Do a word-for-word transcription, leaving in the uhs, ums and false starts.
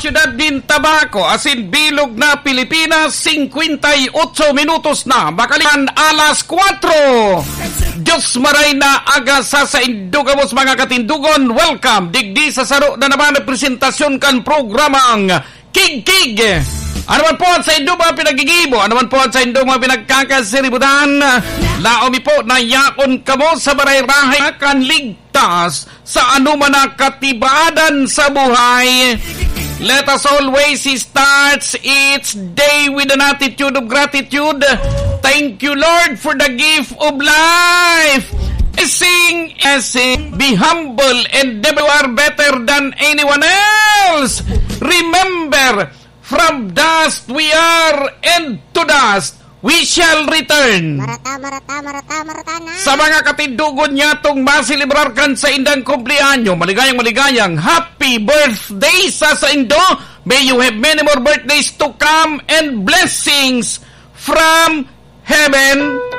Siyudad nin Tabaco, asin bilog na Pilipinas, singkwenta y otso minutos na makalipas alas kwatro. Diyos maray na aga sa saindo gabos, mga katindogon. Welcome digdi sa saro na naman na presentasyon kan programang Kigkig. Ano man po ang saindo mga pinaggigibo, ano man po ang saindo mga pinagkakasiributan, laom mi po na yaon kamo sa baray-rahay kan ligtas sa anoman na katibadan sa buhay. Let us always start each day with an attitude of gratitude. Thank you, Lord, for the gift of life. Sing, sing, be humble, and never you are better than anyone else. Remember, from dust we are, and to dust we shall return. Marata, marata, marata, marata na. Sa mga katindogon niyatong maselebrar kan saindang kumpleanyo, maligayang, maligayang happy birthday sa saindo. May you have many more birthdays to come and blessings from heaven.